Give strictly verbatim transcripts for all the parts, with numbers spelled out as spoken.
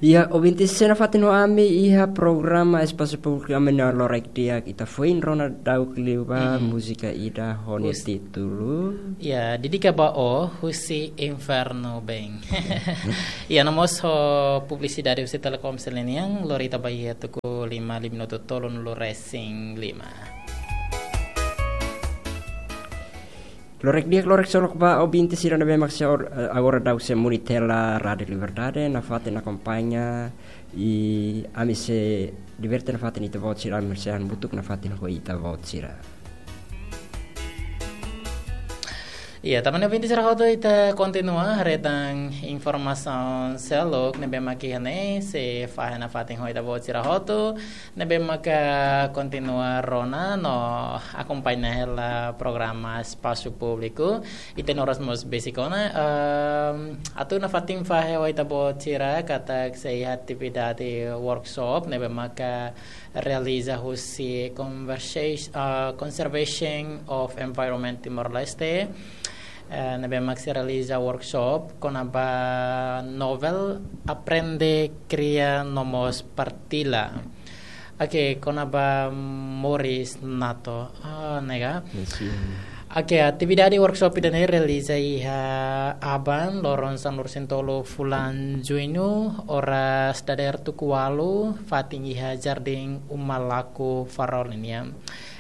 Iha, ouvinte sira nafatin ho ami iha programa Espasu Públiku, ami-nia loron di'ak ita foin rona daudauk liu ba Mhm. múzika ida ho nia Us- títulu. Ya, Dedika ba Ó, husi Infernu Bein. Ya, no mós ho publisidade husi Telkomsel nian, lori ita ba iha tuku lima, lima minutu tolunulu-resin-lima. Loron di'ak, loron solok ba ouvinte sira ne'ebé mak sei or-, eh, agora daudaun sei monitor hela Rádiu Liberdade, nafatin akompaña, i ami sei diverte nafatin ita-boot sira, ami sei hamutuk nafatin ho ita-boot sira. Iya, tanba ne'e ouvinte sira hotu, ita kontinua haree tan informasaun seluk ne'ebé mak iha ne'e, sei fahe nafatin ho ita-boot sira hotu, ne'ebé maka kontinua rona no akompaña hela programa Espasu Públiku. Ita-nia oras mós besik ona, ehm, atu nafatin fahe ho ita-boot sira katak sei iha atividade workshop ne'ebé maka realiza husi Conversa-, ah, Conservation of Environment Timor-Leste, eh, ne'ebé mak sei realiza workshop kona-ba novel Aprende, Kria no mós Partilla. Oke, kona-ba Moris Nato. Ah, ne'e ka? Yes, yeah. Oke, atividade workshop ida-ne'e realiza iha aban, loron sanulu-resin-tolu fulan Juñu, oras dadeer tuku ualu, fatin iha Jardín Uma Laku Farol nian.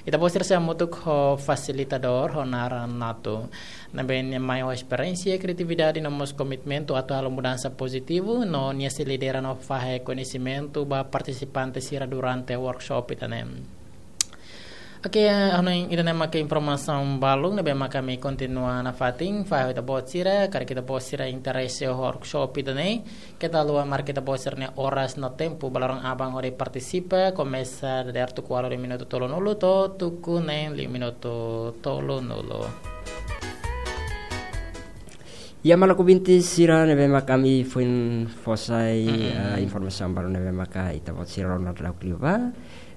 Ita-boot sira sei hamutuk ho fasilitadór ho naran Nato. Ne'ebé nia mai ho esperiénsia, kriatividade no mós komitmentu atu halo mudansa pozitivu, no nia sei lidera no fahe koñesimentu ba partisipante sira durante workshop ida-ne'e. Oke, hanoin ida-ne'e maka informasaun balun ne'ebé maka ami kontinua nafatin fahe ho ita-boot sira, karik ita-boot sira interese ho workshop ida-ne'e, keta haluha marka ita-boot sira-nia oras no tempu ba loron aban hodi partisipa, komesa dadeer tuku ualu lima minutu tolunulu to'o tuku neen lima minutu tolunulu. Ya, maluk ouvinte sira ne'ebé mak ami foin fó sai, Mm-mm. eh, informasaun balun ne'ebé maka ita-boot sira rona daudauk liu ba.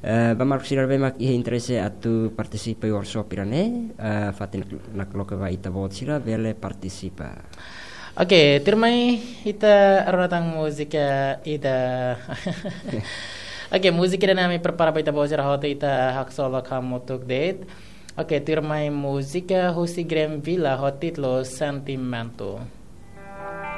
Eh, ba maluk sira ne'ebé mak iha interese atu partisipa iha workshop ida-ne'e, eh, fatin nakloke ba ita-boot sira bele partisipa. Oke, tuirmai ita rona tan múzika ida. Oke, múzika ida-ne'e ami prepara ba ita-boot sira hotu, ita haksolok hamutuk de'it. Oke, tuirmai múzika husi Glenn Villa ho títulu Sentimento.